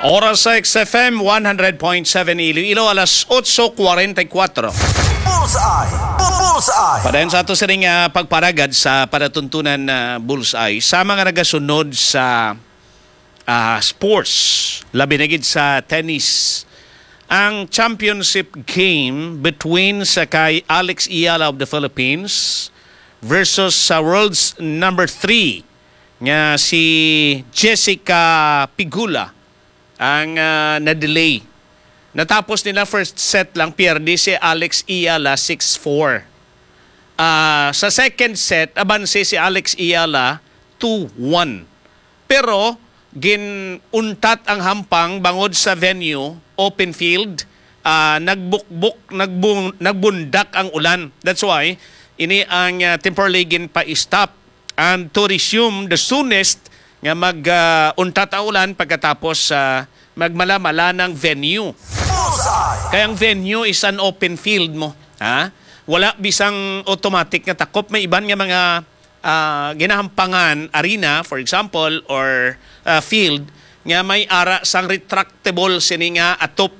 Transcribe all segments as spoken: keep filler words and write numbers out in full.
Oras sa X F M one hundred point seven Iloilo, alas otso kuwarenta y kuwatro. Bullseye! Bu- Bullseye! Padayon sa ato sining, ah, pagparagad sa panatuntunan na Bullseye sa mga nagasunod sa, ah, sports, labi na gid sa tennis. Ang championship game between sa kay Alex Eala of the Philippines versus sa world's number three nga si Jessica Pegula ang, ah, na-delay. Natapos nila first set lang, pierde si Alex Eala six four. Ah, sa second set, abanse si Alex Eala two one. Pero gin-untat ang hampang bangod sa venue, open field, ah, nagbukbok, nagbung-, nagbundak ang ulan. That's why ini ang, ah, temporarily ginpa-stop. And to resume the soonest nga mag, ah, untat ang ulan pagkatapos, ah, magmalamala ng venue. Bullseye! Kaya ang venue is an open field mo, ha? Wala bisang automatic nga takop. May iban nga mga, ah, ginahampangan arena, for example, or, ah, field nga may ara sang retractable sini nga atop.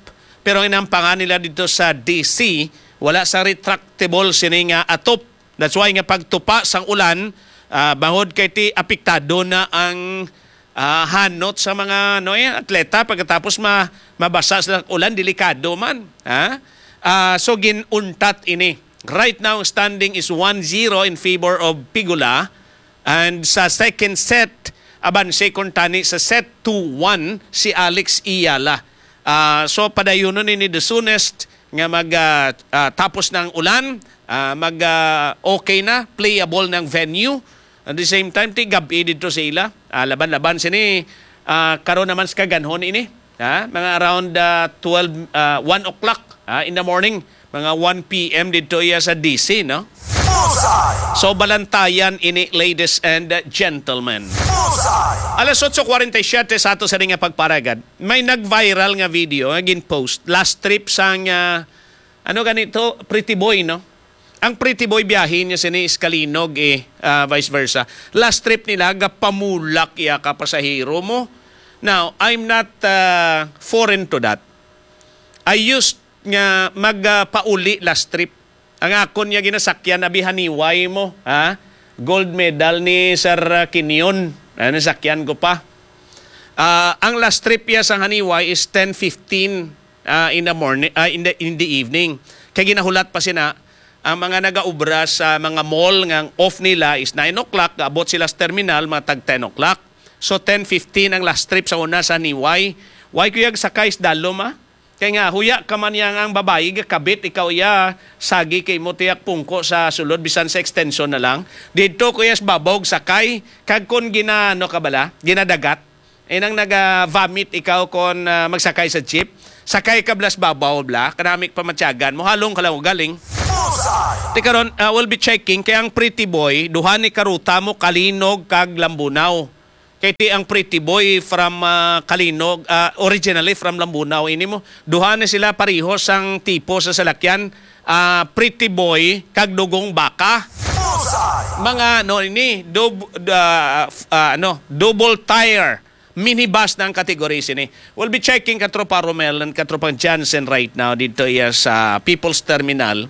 Pero ginahampangan nila dito sa D C, wala sa retractable sini nga atop. That's why nga pagtupa sang ulan, ah, bangod kay ti apektado na ang, ah, hanot sa mga, no, eh, atleta pagkatapos ma-, mabasa sila sa ulan, delikado man, ha? Ah, so gin-untat ini. Right now, standing is one zero in favor of Pegula. And sa second set, abanse kuntani sa set two one si Alex Eala. Ah, so, padayunon ini the soonest nga mag, ah, ah, tapos na ang ulan, ah, mag, ah, okay na, playable na ang venue. At the same time, ti gab-i dito sa ila. Ah, laban-laban sini, ah, karon naman sa kaganhon ini. Ha? Mga around, ah, twelve, ah, one o'clock, ah, in the morning. Mga one P M dito iya sa D C, no? Bullseye! So, balantayan ini, ladies and gentlemen. Bullseye! Alas otso kuwarenta y siyete sa ato sa nga pagparagad, may nag-viral nga video nga gin-post. Last trip sang, ah, ano ganito, Pretty Boy, no? Ang Pretty Boy biyahe niya sini is Kalinog, eh, ah, vice versa. Last trip nila, gapamulak iya ka pasahero mo. Now, I'm not, ah, foreign to that. I used nga mag, ah, pauli last trip. Ang akon nga ginasakyan, abi, haniway mo, ha? Gold medal ni Sir, ah, Quinion. Ah, nasakyan ko pa. Ah, ang last trip niya sa haniway is ten fifteen, ah, in the morning, ah, in the, in the evening. Kay ginahulat pa sina, ang mga nagaobra sa mga mall nga ang off nila is nine o'clock, gaabot sila sa terminal, mga tag ten o'clock. So, ten fifteen ang last trip sa una sa haniway. Why ko yag sakay sa dalom, ah? Kay nga, huya ka man yang ang babayi, gakabit, ikaw iya, sagi kay mo tiyak pungko sa sulod, bisan sa extension na lang. Didto ko iya sa babaw, sakay, kag kon gina-, ano ka bala, ginadagat, eh, nang naga-vomit ikaw kon, ah, magsakay sa jeep, sakay ka blas babaw bla, kanamik pamatyagan mo, halong ka lang ugaling. Bullseye! Ti karon, ah, we'll be checking kay ang Pretty Boy, duha ni karuta mo, Kalinog kag Lambunao. Kay ti ang Pretty Boy from, ah, Kalinog, ah, originally from Lambunao ini mo. Duha ni sila pareho sang tipo sa salakyan, ah, Pretty Boy kag Dugong Baka. Bullseye! Mga, no, ini, dub-, ah, f-, ah, ano, double tire minibus na ang category sini. We'll be checking, Katropa Romel and Katropang Jansen, right now dito iya sa People's Terminal.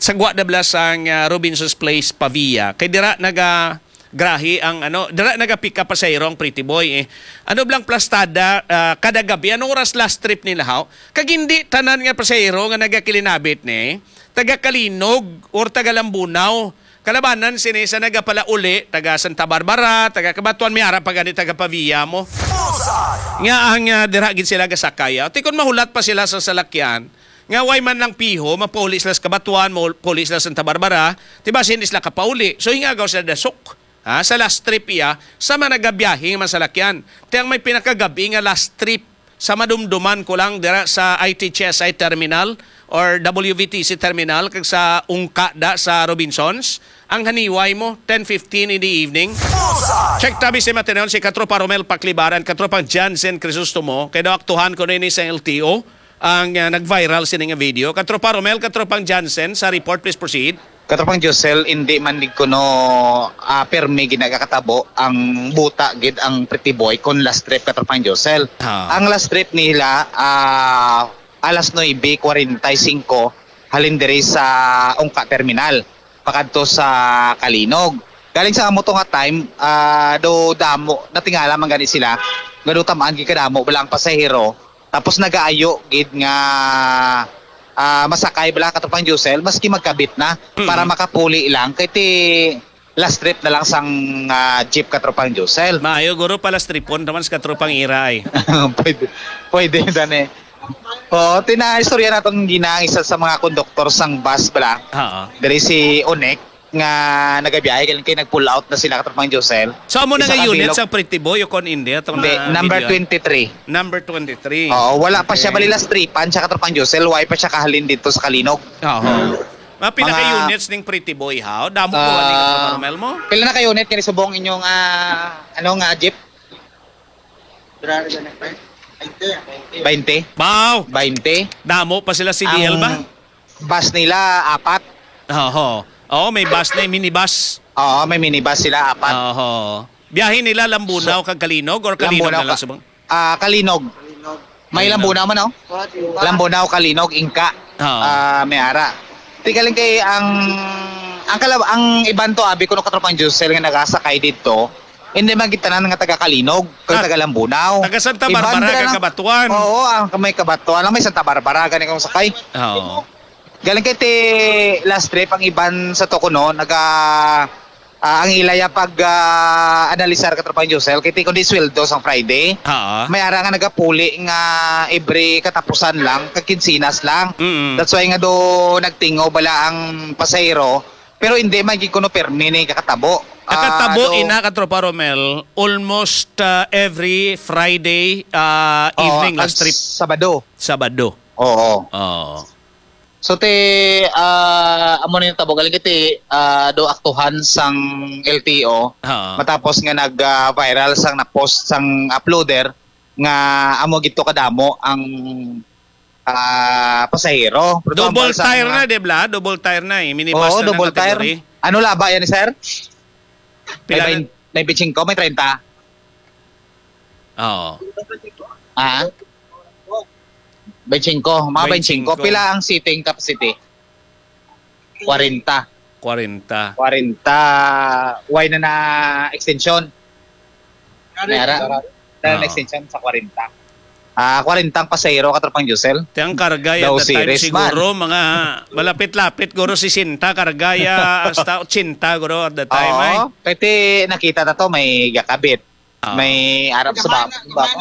Sa gwa na bala sang, ah, Robinson's Place, Pavia. Kay dira naga-, grahe ang, ano, dira naga-pick up pasahero ang Pretty Boy, eh. Ano blang plastada, ah, kada gabi? Anong oras last trip nila, haw? Kag hindi tanan nga pasahero nga nagakilinabit ni taga Kalinog or taga Lambunao. Kalabanan sini sa nagapalauli, taga Santa Barbara, taga Cabatuan, may ara pa gani taga Pavia mo. Bullseye! Nga ang, ah, dira gid sila gasakay, ah. Ti kon mahulat pa sila sa salakyan, nga way man lang piho, mapauli sila sa Cabatuan, maul-, pauli sila sa Santa Barbara, ti basin di sila kapauli. So, hingagaw sila dasok, ha, sa last trip iya, sa mga nagabiyahe nga mga salakyan. Ti ang may pinakagabi nga last trip sa madumduman ko lang dira sa I T H S I terminal or W V T C terminal kag sa ungka da sa Robinsons, ang haniway mo, ten fifteen in the evening. Bullseye! Check tabi si Matenon, si Katropa Romel Paklibaran, Katropang Jansen Crisostomo, kay daw aktuhan ko na ini sa L T O, ang, ah, nag-viral sini nga video. Katropa Romel, Katropang Jansen, sa report, please proceed. Katropang Josel, hindi man gid kuno, ah, permi ginagakatabo ang buta gid ang Pretty Boy kon last trip, Katropang Josel. Ah. Ang last trip nila, ah, alas nuebe kwarenta y singko halin diri sa Ungka Terminal pakadto sa Kalinog. Galing sa amo to nga time, ah, do damo, natingala man gani sila nga do tam-an gid kadamo bala ang pasahero. Tapos nagaayo gid nga, ah, masakay bala, Katropang Josel, maski magkabit na, Mm. para makapuli lang kay ti last trip na lang sang, ah, jeep, Katropang Josel. Maayo guro pa last tripon naman sa katropang ira ay. Pwede, pwede, dani. Oo, tinaistorya naton gina ang isa sa mga konduktor sang bus bala. Oo. Diri si Onek nga nagabiyahe kay nag-pull out na sila, Katropang Josel. So, amo na Isa nga ka unit bilog. Sa Pretty Boy o kon hindi, atong Hindi, na number video. Twenty-three. Number twenty-three. Oo, wala pa siya Okay. bali last tripan siya, Katropang Josel, why pa siya kahalin dito sa Kalinog. Oo. Mga pila ka Mga units ning Pretty Boy, ha? Damo ko ani, Ah, Katropang Romel mo? Pila na ka unit kani subong inyong, ah, ano nga jeep? Grabe na, twenty. Twenty. Wow! Twenty. Damo pa sila C D L ba? Ang bus nila, apat. Oho. Oo, may bus na, minibus. Oo, may minibus sila, apat. Oho. Biyahe nila Lambunao So, kag Kalinog or Kalinog Lambunao na lang ka-, subong? Ah, Kalinog. May Kalinog. Lambunao man, oh. Lambunao, Kalinog, Ingka. Oo. Ah, may ara. Di galing kay ang, ang kalab-, ang iban to, abi ko no, Katropang Josel nga nagasakay dito, hindi man gid tanan nga taga Kalinog, kag Ah, taga Lambunao. Taga Santa Iban Barbara, sila kag ng Cabatuan. Oo, ang may Cabatuan, ang may Santa Barbara, gani kong sakay. Oo. Galing kay ti last trip ang iban sa to kuno, naga, ah, ang ilaya pag, ah, analisar, Katropang Josel, kay ti kundi sweldo sang Friday. Oo. May ara nga nagapuli nga every katapusan lang, kag kinsinas lang. Mm. That's why nga do nagtingo bala ang pasahero, pero hindi man gid kuno permi ni kakatabo. Nakatabo Ah, do ina, Katropa Romel, almost, ah, every Friday, ah, Oo, evening kag last trip. Sabado. Sabado. Oo. Oo. So, ti, ah, amo na yung tabo. Galing iti, ah, do aktuhan sang L T O. Ha. Matapos nga nag, ah, viral sang na-post sang uploader nga amo gito kadamo ang, ah, pasahero. Pero Double ang sa tire mga na, di ba? Double tire na eh. Minibus Oo, na ng double tire. Category. Ano laba yan, sir? Pila May na? bain-, may twenty-five, may treinta. Oo. Ah? Twenty-five. Mga twenty-five. Twenty-five. Pila ang seating capacity? Kwarenta. Kwarenta. Kwarenta. Why na na extension? May ara? Dahil Oo. extension sa kwarenta. Ah, kwarenta ang pasahero, Katropang Josel. Ti ang karga Daw at the time series man. siguro, mga malapit-lapit, guro, sesenta, karga ya, hasta ochenta, guro, at the time, Oo. ay. Kaya ti nakita na to, may gakabit. Ah. May arap sa bab-, sa babaw.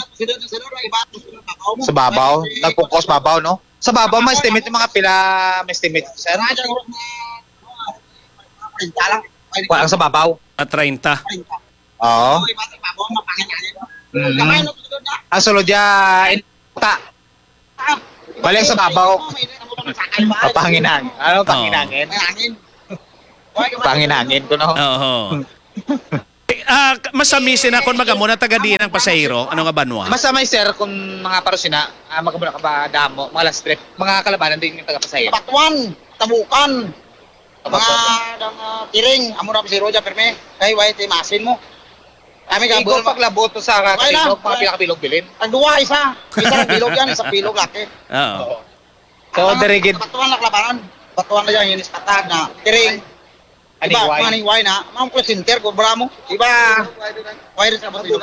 Sa babaw. Nagpungkos babaw, no? Sa babaw, may estimate yung mga pila, may estimate, sir? Kuha lang sa babaw. Ah, treinta. Oo. Mm. Ang sulod dyan, ta. Balik sa babaw. Papanginang. Ano, Oo. papanginangin? Panginangin ko, no? Oo. Eh, ah, k-, masamisin na kung mag-amo na taga diin ang pasahero. Ano nga banwa? Mas amay, sir, kung mga parusina, ah, mag-amo na ka ba damo, mga last trip, mga kalabanan din yung taga-pasahero. Batuan, Tabukan. Mga Tabukan. dang, ah, Tiring, amo na si Roger Perme. Kay, why, ti masin mo. Kami ka, Igo buwan, paglabot to sa Why na? Katilog, mga Why? pinakabilog bilin. Ang duwa, isa. Isa ang bilog yan, isa bilog laki. Oo. Oo. So, Ang diri gid. Batuan na kalabanan. Batuan na yan, yung ispatag na. Tiring. Ani, Iba, why? Mga ning why na, mga call center, cobra mo. Iba, why rin sa Batuan?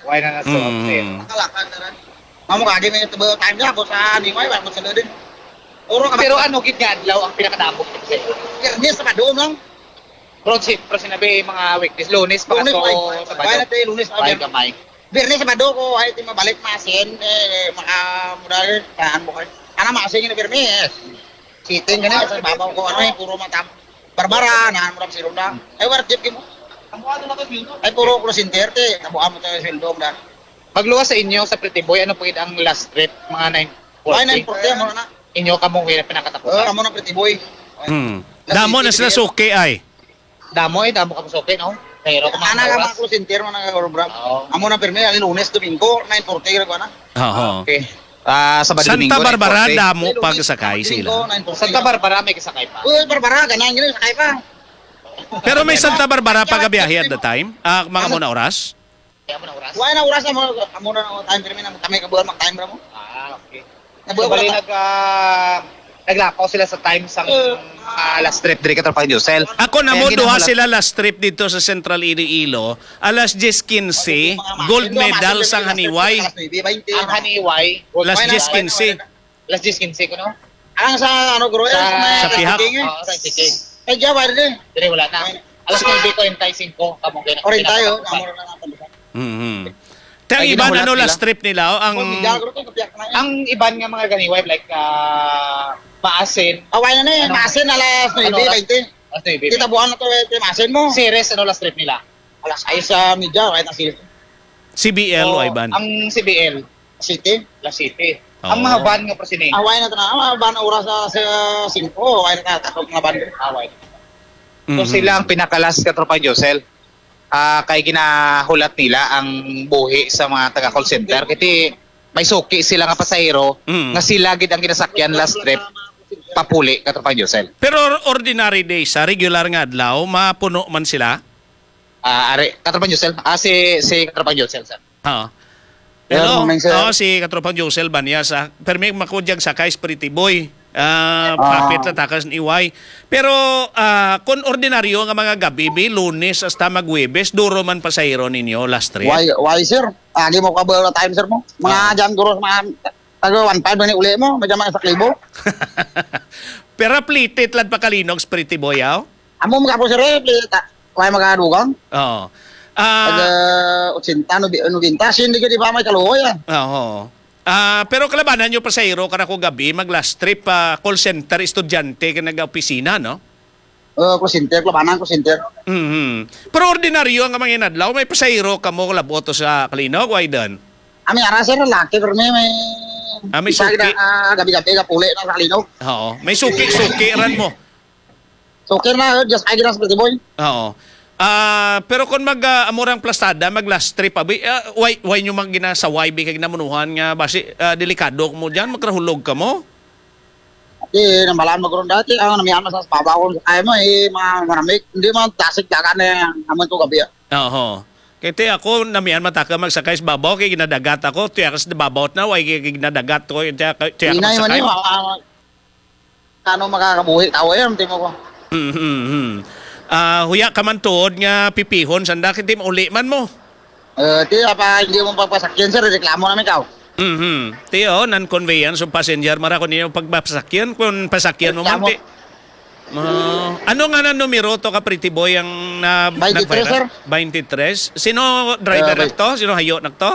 Why na na sa Mm. upstairs? Makalakad na rin. Mamo ka, di may tabo time niya, boss, ah, ning why, wala mo sa din. Oro ka ba? Pero ano gid nga adlaw ang pinakadamo? Biyernes, Sabado lang. Pero si, pero sinabi, mga weekdays, Lunes pa Lunes, to, why? Sabado. Why na tayo, Lunes, Why Sabado? Gamay? Biyernes, Sabado ko, ay, di mabalik, masin, eh, maka, mudal, tahan mo kayo. Ano, masin yung Biyernes? Sitting ka na, sa babaw ko, ano, eh, puro matam-, Barbara, nahan mo lang si Ronda. Ay, war, jeep mo. Ay, puro call center, te. Tabuan mo tayo, sweldo, da. Magluwas sa inyo, sa Pretty Boy, ano po ang last trip? Mga nine forty? Ay, nine forty, amo na. Inyo, kamo, kaya pinakatapusan. Oh, amo na, Pretty Boy. Hmm. Damo na sila suki, ay. Damo, eh, damo kamo suki, no? Pero kung Ana mga ka, oras, mga call center, mga nag-orobra. Oo. Amo na, pirmi, ang Lunes, Domingo, nine forty, ra ko na. Oo. Okay. Ah, Sabado, Santa Domingo, Barbara, nine forty. Damo Pero pag may sakay mga sila. Domingo, nine forty. Santa Barbara, may kasakay pa. Uy, Barbara, ganang gini, sakay pa. Pero may Santa Barbara pa gabiyahe at the time? Ah, mga Ano? Muna oras? Kaya mo na oras? Wala na oras, amo, amo na ang time, pero may na kami kabulan mag-time ra mo. Ah, okay. Nabuhay Bali, ko na nag, ah, naglapaw sila sa time sang, Eh. ah, last trip diri, Katropang Josel. Ako na Kaya mo, duha ginahulat- sila last trip dito sa Central Iloilo. Alas diyes quince, Mga gold mga medal mga sang mga Haniway. Alas nuebe baynte. Ang Haniway, gold Alas medal. diyes quince. Alas diyes quince ko, no? Ang sa, ano, Guru, Sa, sa may sa Pihak. King, eh. Oo, sa King. Ay, Java, dali. Dili, wala na. Alas nuebe kuwarenta y singko, kamong gina-, Kuwarenta y, oh, ginapatak. Amo na lang ang talusan. Mhm. Te, ang Ay, iban, ginahulat ano, nila. Last trip nila, oh, ang Oh, may Java, Guru, kaya kapiyak na yan. Ang iban nga mga ganiway, like, ah, maasin. Away na na, eh. Ano? Maasin, alas Ano nuebe oras? baynte. Alas nuebe. Kita buwan na to, eh, maasin mo. Series, ano, last trip nila? Alas sais sa media, kahit ang series. C B L o Oh, Iban? Ang C B L. City? La City. Oo. Ang mga van nga presineng. Away na to na. Ang mga van oras sa, sa singko. Away na to. Takot mga van. Away. So, Mhm. sila ang pinakalas, Katropang Josel. Ah, kay ginahulat nila ang buhi sa mga taga call center. Kasi may suki sila nga pasahero Mhm. nga sila gid ang ginasakyan last trip papuli, Katropang Josel. Pero or-, ordinary day, sa regular nga adlaw, mapuno man sila? Ah, ari, Katropang Josel. Ah, si, si Katropang Josel, sir. Oo. Hello. Good morning, sir. Oo, si Katropang Josel Banyas, ah. Permi makudyag sa kay Pretty Boy. Ah, Ah. Kapit na takas ni Iway. Pero, ah, kung ordinaryo nga mga gabi, bi, Lunes hasta mag-Huwebes, duro man pasahero ninyo last trip? Why, why, sir? Agi mo ka ba time, sir, mo? Mga Ah. dyan, guro, mga taga one five na ni uli mo, may dyan mga sa Klibo. Pero plitit lang pa kalinog, Pretty Boy, aw? Amo mga po, sir, eh, plitit, ah. Why magadugang? Oo. Ah, Taga ochenta, nobe-, nobenta, sindi ka di ba may kaluoy, ah? Oo. Ah, pero kalabanan nyo, pasahero, kada ko gabi, mag last trip, ah, call center, estudyante, ka nag-opisina, no? Uh, call center, kalabanan, call center. Mhm. Pero ordinaryo ang mga inadlaw, may pasahero kamo labot to sa Kalinog, why done? Ami ara, sir, laki, pero may, may Ah, may isa suki. na, ah, gabi-gabi, kapuli na sa Kalinog. Oo. May suki-suki ran mo. So, okay na, just ay, ginas, Pretty Boy. Oo. Ah, pero kung mag, ah, amo rang plastada, mag last trip, abi, ah, why, why nyo mag ginasaway, bi, kay ginamunuhan nga, basi, ah, delikado mo dyan, magrahulog ka mo? Di, namalaan mo gurong dati, ang namihan mo sa babaw, kung kaya mo, eh, mga maramik, hindi mo, tasik, dagan na yan, naman ko gabi, ah. Oo. Kaya ti ako, namihan mataka magsakay sa babaw, kay ginadagat ako, tiyakas na babaw na, why kay ginadagat ko, tiyak, tiyak Inay man magsakay. yun, ah, ah, Kano makakabuhi tao yan, timo ko. Mhm. Ah, huya ka man tuod nga pipihon, sanda, kay ti mauli man mo. Eh, ti, apa, hindi mo pagpasakyan, sir, reklamo namin ka. Mhm. Ti, oh, non-conveyance of passenger, mara ko ninyo pagpasakyan, kung pasakyan mo man, Reklamo. ti. Ah, ano nga na numero to ka, Pretty Boy, ang na, Twenty-three, nag-viral? sir. Twenty-three? Sino driver Eh, na to? Sino hayo na to?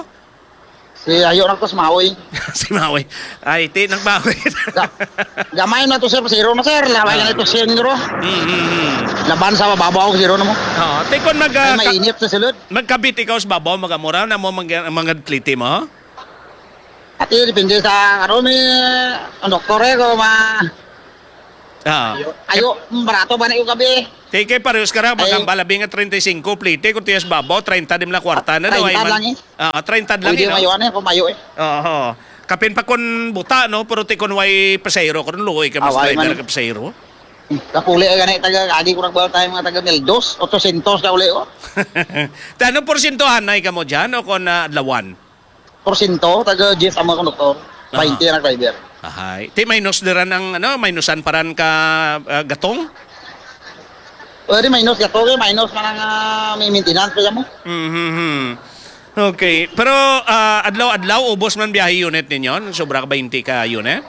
Si Ayo na to, si Maui. Si Maui. Ay, ti, nagbawi. Ga-, gamay na to, sir. Zero na, sir. Laway Ah. na ito, sir, zero. Mm, mm, mm. Laban sa mababaw, zero na mo. Oo. Ti, kung mag, Ay, ah, ka-, mainit sa sulod. Magkabit ikaw sa babaw, magamura na mo, mag-, mag-atlete mo? Ati, depende sa, ano, may, ang doktor, eh, kung ma-, Ah. Ayo, ayo, mm, barato ba na yung gabi? Ti, kay parehas ka ra, Ay. Magambal, abi nga treinta y cinco plete, kung tiyas babaw, treinta di man na kwarta na, no? Treinta Ay, man lang, eh. Ah, treinta lang, Pwede eh, no? Mayo, ano, kung mayo, eh. Oo. Kapin pa kun buta, no? Pero ti kun way pasahero, kun luoy ka, mas Away driver man. Ka pasahero. Kapuli, eh, gani, taga, agi ko nagbawa tayo, mga taga mil dos, otsosyentos ka uli, oh. Ti, ano porsyento anay ka mo dyan, o kun, ah, adlawan? Porsyento, taga Jeff ang mga konduktor. Aha. Bainte ang driver. Ahay. Ti minus diran ang, ano, minusan paran ka, ah, gatong? Pwede minus gatong, eh, minus man ang, ah, may maintenance pa mo. Mhm. Okay. Pero, ah, adlaw-adlaw, ubos man biyahe unit ninyo? Sobra ka bainte ka unit?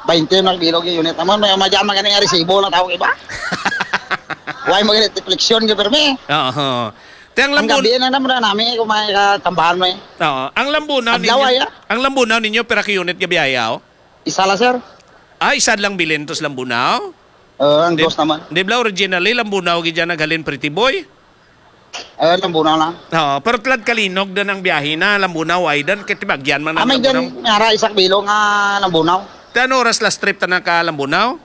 Bainte ang bilog yung unit. Naman, may madyan man ganing resibo na tawag iba. Why mo ganing reflection ka, permi? Oo. Ti ang Ang lambu-, gabi na naman na namin kung may katambahan mo eh. Oo. Ang lambunaw Adlaw ninyo, ay, ah. Ang lambunaw ninyo, pira ka unit nga biyahe, aw? Isa lang, sir. Ah, isa lang bilin tos lambunaw? Oo, ang Di, dos naman. Di ba originally, lambunaw gid dyan naghalin, Pretty Boy? Oo, lambunaw lang. Oo, pero tulad Kalinog din ang biyahe na, lambunaw, ay dan, kay tibagyan man ang Amay lambunaw. Dyan, may ara, isak bilo nga lambunaw. Ti ano oras last trip ta na ka lambunaw?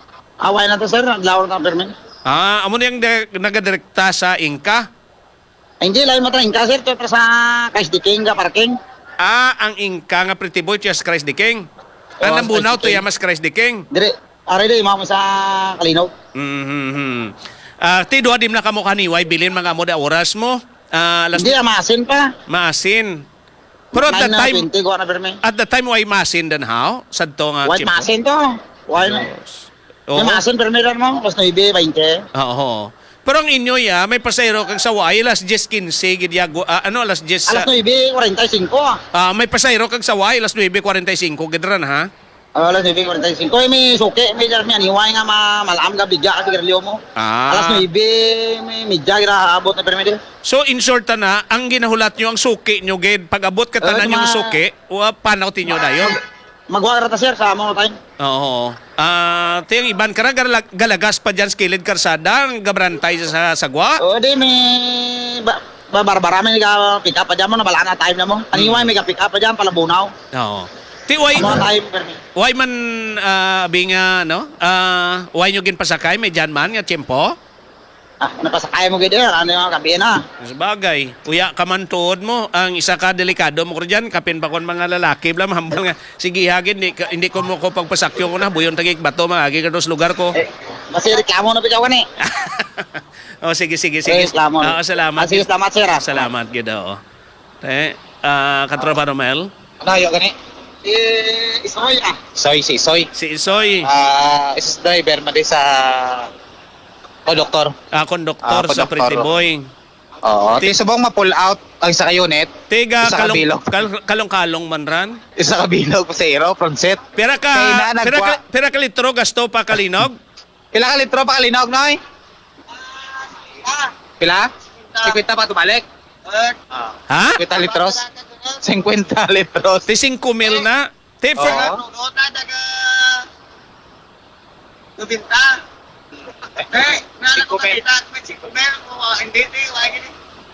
Away na to, sir. Adlaw na to, permi. Ah, amo niyang di-, nagadirekta sa Inka? Ay, hindi, lain mo to. Inka, sir. Ito sa Kais Diking ka parking. Ah, ang ingka nga Pretty Boy, tuya sa Christ the King. Ang Oh, Lambunaw, Christ the tuya King. Mas Christ the King. Dire, are di, mama sa Kalinaw. Mhm. Ah, ti duha di man na kamo kaniway, bilin mga amo da oras mo. Ah, alas Hindi, ah, maasin pa. Maasin. Pero at that Nine na time, twenty, kuha na pirmi. At that time, way maasin dan how? Sadto nga White tiyempo? Maasin to. Why na? Yes. May Oo. Maasin, pirmi ran mo. Alas nuebe bainte. Oo. Pero ang inyo, ya, may pasahero kag sa way, alas diyes quince, gid ya, gu-, ah, ano, alas diyes Alas sa nuebe kuwarenta y singko, ah. Ah, may pasahero kag sa way, alas nuebe kuwarenta y singko, gid ran, ha? Ah, alas nuebe kuwarenta y singko. Eh, may suki, may, may aniway nga ma-, malaam ka bigya ka sigarilyo mo. Ah. Alas nuebe, may media, gira abot na pirmi di. So, in short, na, ang ginahulat nyo, ang suki nyo, gid, pag-abot ka Ah, tanan yung mga suki, wa, panaw tinyo dayon. Magwa ra ta, sir, sa amo time. Oo. Ah, ti ang iban kara gala-, galagas pa dyan sa kilid karsada, ang gabrantay sa sagwa. Oo, di, may ba-, ba-, barbara, may ka-pick up pa dyan mo, nabala na time na mo. Aniway, Mm. may ka-pick up pa dyan, palabunaw. Oo. Ti, why, Amo time, pirmi. Why man, ah, abi nga, no? Ah, why nyo ginpasakay? May dyan man nga tiyempo? Ah, napasakay mo gid, eh. Ano yung kabihin, ha? Sabagay. Uya ka man tuod mo. Ang isa ka delikado mo ko dyan, kapin pa kon mga lalaki, bla, mahambal nga, "Sige, hagin, hindi ka, hindi ko mo ko pagpasakyo ko na, buyon tagik bato, mga agi ka dos lugar ko." Eh, basi reklamo na bitaw ka ni. Oh, sige, sige, sige. Eh, reklamo. Ah, salamat. Ah, sige, salamat, sir, ah. Salamat gid, oo. Eh, ah, Katropa Romel? Ano, ayo gani? Eh, Isoy, ah. Isoy, si Isoy. Si Isoy. Ah, is driver, madi sa konduktor. Ah, konduktor Ah, sa konduktor. Pretty Boy. Oo, Ti- ti subong ma-pull out ang isa ka unit, Tiga isa ka kalong-, bilog. Kal-, kalong-kalong man ran. Isa ka bilog, pasahero, front seat. Pira ka, Kay na pira ka, nagwa- pira ka litro gasto pa Kalinog? Pila ka litro pa Kalinog, Noy? Pila? Singkwenta pa tubalik? Ah. Ha? Singkwenta litros? Singkwenta litros. Ti singko mil na? Ti Oo. Nobenta. Eh, nana ko Singko mil. Makita, may singko mil, o, hindi, hindi, wala gini.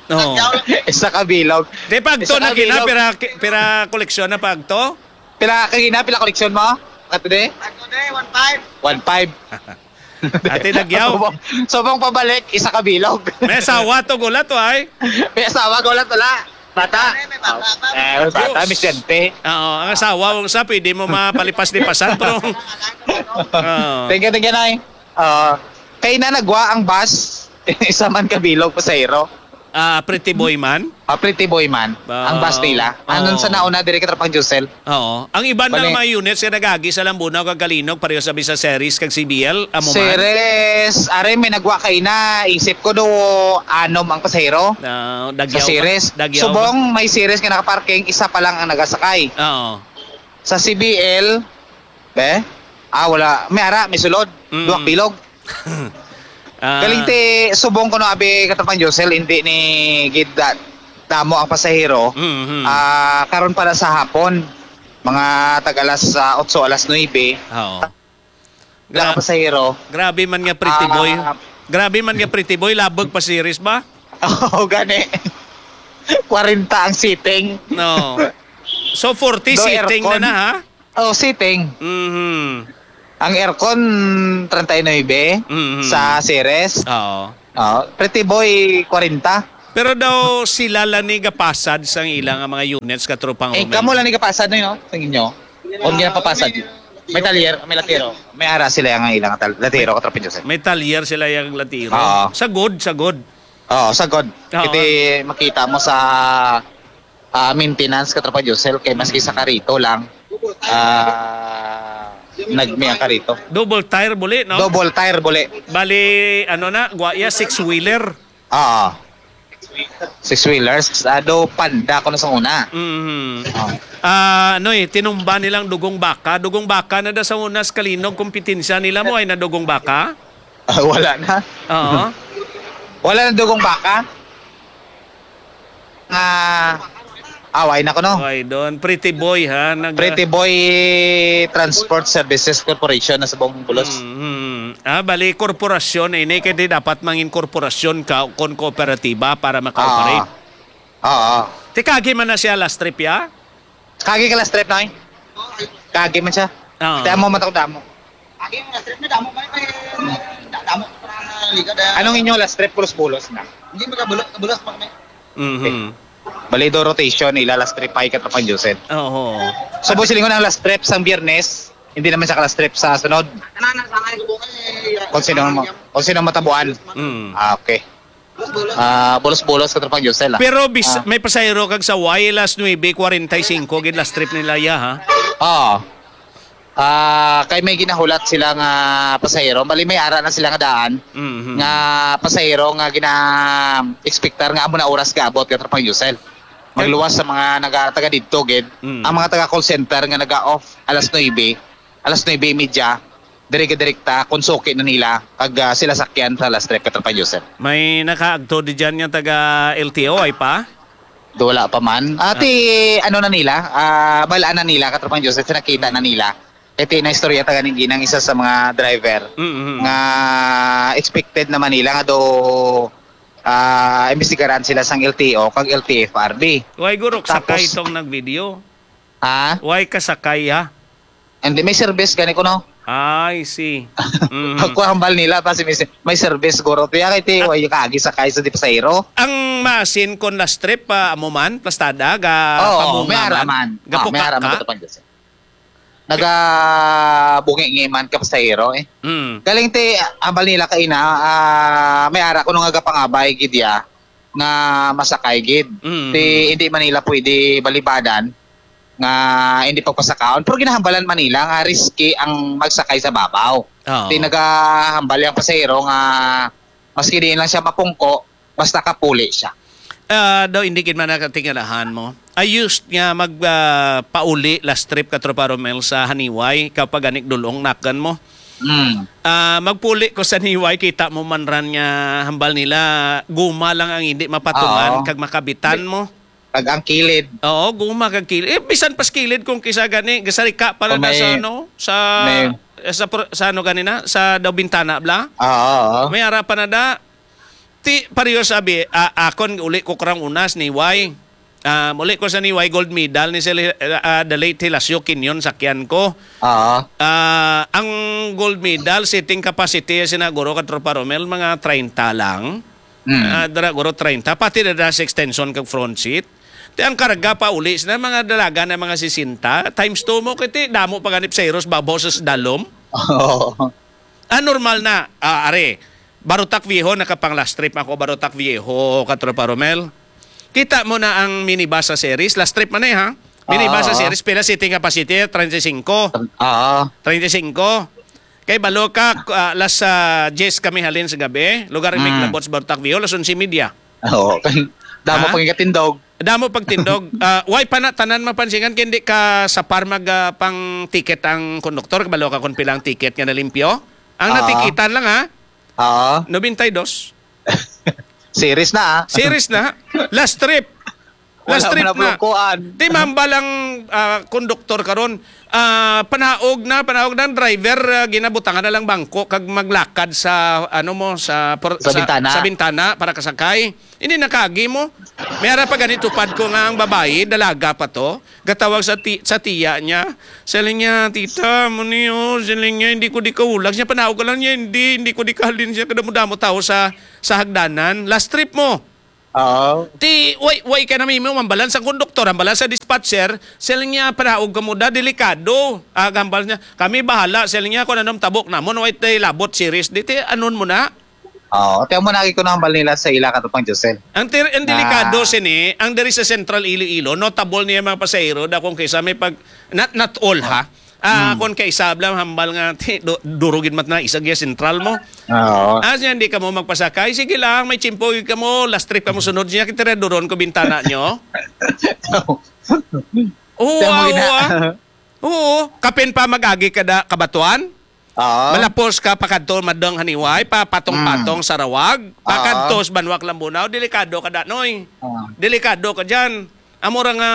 Oo. Tagyaw lang. Isa ka bilog. Di pagto Isa na ka gina, bilog. Pira, pira koleksyon na pagto? Pila ka gina, pila koleksyon mo? Kato di? Pagto di, one five. One five. Ate Nagyaw. Subong, subong pabalik, isa ka bilog. May asawa to, gulat to, ay. May asawa, gulat wala. Bata. Ay, may bata pa. Eh, bata, Diyos. Misyente. Oo, ang asawa, kung sa, pwede mo mapalipas-lipasan, pero, oo. Thank you, thank you, Nay. Ah, kay na nagwa ang bus, isa man ka bilog, pasahero. Ah, Pretty Boy man? Ah, Pretty Boy man. Ang bus nila. Ah, oo. Anong sa nauna, diri ka Tropang Josel? Oo. Ang iban Bali. Nga mga units nga nagagi sa Lambunaw kag Kalinog, pareho sa bisa Ceres kag C B L, amo man? Ceres, are, may nagwa kaina, isip ko do anom ang pasahero. Ah, Dagyaw Sa ba? Ceres. Dagyaw ba? Subong, may Ceres nga nakaparking, isa pa lang ang nagasakay. Oo. Sa C B L, be? Ah, wala. May ara, may sulod. Mm. Duwak bilog. Ah. Galing ti subong ko no, abi, Katapang Josel, hindi ni gid da-, damo ang pasahero. Mm, mm. Ah, karon para sa hapon, mga tag alas, ah, otso, alas nuebe. Oo. Wala Gra-, pasahero. Grabe man nga Pretty Boy. Ah. Grabe man nga Pretty Boy, labog pa Ceres ba? Oo, gani. Kwarenta ang seating. No. So, forty Do seating na aircon. Na, ha? Oh, seating. Mhm. Ang aircon, treinta y nuebe Mhm. sa Ceres. Oo. Oh, Pretty Boy, kwarenta. Pero daw sila lang ni gapasad sang ila nga mga units, Katropang Eh, Romel. Kamo lang ni gapasad, no, no? Sa inyo? Kung ginapapasad. May talyer, may latiro. May ara sila nga ilang tal-, latiro, Katropang Joseph. May talyer sila yang latiro. Oo. Sagod, sagod. Oo, sagod. Oo. Iti makita mo sa ah, maintenance, Katropa Josel, kay maski sa Mm. karito lang, ah, nagmi ang karito. Double tire buli, no? Double tire buli. Bali, ano na, gwa iya, six-wheeler. Oo. Six-wheelers, ah, do Panda ko na sa una. Mhm. Oo. Ah, ano eh, tinumba nilang dugong baka. Dugong baka na da sa una sa Kalinog, kompetensya nila mo ay na dugong baka? Ah, wala na. Oo. Wala na dugong baka. Nga, away na ko, no? Ay, doon. Pretty Boy, ha? Nag- Pretty Boy Transport Services Corporation na sa buong Bulos. Mm, mm. Ah, bali, korporasyon na ini. Kaya di dapat mangin korporasyon ka kon kooperatiba para maka-operate. Oo. Oo. Ti kagi man na siya last trip, ya? Kagi ka last trip, Noy? Kagi man siya. Oo. Kaya mo mataw damo. Kagi mo last trip na damo, may, may, da-, damo pa na liga da. Anong inyo last trip, pulos-pulos na? Hindi, magkabulo-, kabulos pa kami. Mhm. Bali do rotation nila last trip ay Katropang Joseph. Oo. So, boss, silingon ang last trip sang Biyernes, hindi naman siya ka-last trip sa sunod. Kung sino, kung sino matabuan. Mm. Ah, okay. Ah, bulos-bulos Katropang Joseph, ah. Pero bis, Ah. may pasahero kag sa Y, alas nuebe kuwarenta y singko gid last trip nila, ya, ha? Oo. Ah, kay may ginahulat sila nga pasahero, bali may ara na sila nga daan Mhm. nga pasahero nga gina-expectar nga amo na oras gaabot Katropang Joseph. Magluwas sa mga naga-, taga didto gid. Mm. Ang mga taga call center nga naga-off alas nuebe, alas nuebe y media, diri gid direkta kung suki na nila kag, ah, sila sakyan sa last trip Katropang Joseph. May nakaagto di dyan nga taga L T O, ay pa? Do wala pa man. Ati, ano na nila, ah, balaan na nila, Katropang Joseph, nakita na nila. Iti na istorya ta ganing ginang isa sa mga driver Mm-hmm. nga expected naman nila nga do, ah, imbestigaran sila sang L T O kag L T F R B. Why guro Tapos sakay tong nag-video? Ha? Why ka sakay, ha? Hindi, may service gani ko, no? I see. Mhm. Ako hambal nila pa si may, may service guro. Tiya kay ti, Ah. way kaagi sa kay sa di pasahero. Ang masin kon last trip, ah, amo man, plastada, ga Oo, pamunga may man, araman. Ga Ah, may pukak araman ka? Katropang Joseph. Nagabungi-ngi man ka pasahero, eh. Mm. Galing ti, hambal nila kaina, ah, may ara ko nung nagapangabay gid ya nga masakay gid. Mm. Ti, hindi man nila pwede balibadan nga hindi pagpasakaon. Pero ginahambalan man nila nga risky ang magsakay sa babaw. Oo. Ti, nagahambal yang pasahero nga maski diin lang siya mapungko, basta kapuli siya. Ah, daw hindi gid man nakatingalahan mo. I used nga mag, ah, pauli last trip Katropa Romel sa Haniway, kapag anik dulong nakan mo. Mm. Ah, magpuli ko sa Haniway, kita mo man ran nga hambal nila, guma lang ang hindi mapatungan Oo. kag makabitan mo. Kag ang kilid. Oo, guma kag kilid. Eh, bisan pas kilid kung kisa gani, gasarika pa na Kung may sa ano, sa, may sa pro-, sa ano gani na, sa daw bintana bla. Oo, oo. May ara pa na da. Ti, pareho sabi, ah, akon, uli ko karang unas ni Y. Ah, uli ko sa ni Y, gold medal ni sila, ah, ah, the late Hilasio Quinion, sakyan ko. Oo. Ah, ang gold medal, seating capacity, sina guro Katropa Romel, mga treinta lang. Mm. Ah, dara guro treinta. Pati na dara sa extension kag front seat. Ti ang karga pa uli, sina mga dalaga na mga sesenta, times two mo, kay ti damo pa ganip sa Heroes, babaw sa dalom. Oo. Ah, normal na. Ah, are, Barotac Viejo, nakapang last trip ako, Barotac Viejo, Katropa Romel. Kita mo na ang minibus sa series, last trip man eh, ha? Minibus sa Oo. series, pila seating capacity? Treinta y cinco. Oo. Treinta y cinco. Kay balo ka, ah, alas, ah, diyes kami halin sa gabi, lugar may Mm. labot sa Barotac Viejo, alas onse y media. Oo. Damo Ha? pang ikatindog. Damo pagtindog. Ah, why pa na tanan mapansingan kay hindi ka sa par mag, ah, pang ticket ang konduktor? Kabalo ka kung pila ang ticket nga nalimpyo? Ang Oo. natikitan lang, ha? Oo. Noventa y dos. Series na, ah. Series na. Last trip. Last Wala trip man na na. Kuan. Di mambal ang, ah, konduktor karon. Ah, panaog na, panaog na ang driver, ah, ginabutangan na lang bangko kag maglakad sa, ano mo, sa por-, Sa sa, bintana. sa bintana para kasakay. Hindi nakagi mo. May ara pa gani tupad ko nga ang babayi, dalaga pa to. Gatawag sa ti-, sa tiya niya. Siling niya, "Tita, mo ni, oh," siling niya, "hindi ko di kahulag." Siya, "Panaog ka lang niya, hindi, hindi ko di kahalin." Siya, kadamo-damo tao sa, sa hagdanan. Last trip mo. Oo. Ti, way, way ka na mimo, ang balan sa konduktor, ang balan sa dispatcher, siling niya, "Panaog ka mo da, delikado." Ah, gambal niya, "Kami bahala," siling niya, "kung anong tabok namon, way tay labot, series." Di, ti, anon mo na? Oo, ti amo na ko nahambal nila sa ila, Katropang Josel. Ang ter-, ang delikado Ah. sini, ang diri sa Central Iloilo, notable niya mga pasahero, da kung kaysa may pag, not, not all ha. Ah, Hmm. kung kaysa blam hambal nga, ti, du-, duro gid mat na, isa giya sentral mo. Oo. Ah, siya, hindi ka mo magpasakay. Sige lang, may tiyempo gid ka mo, last trip ka mo sunod niya, kita duron ko bintana nyo. Oo, Tiyan mo awa. gina- Oo, kapin pa mag-agi ka da, kabatuan? Oo. Malapos ka pakadto madong Haniway, pa patong-patong Mm. sa Rawag, Oo. pakadto sa Banwa Lambunao, delikado ka da, Noy. Oo. Delikado ka dyan. Amo ra nga,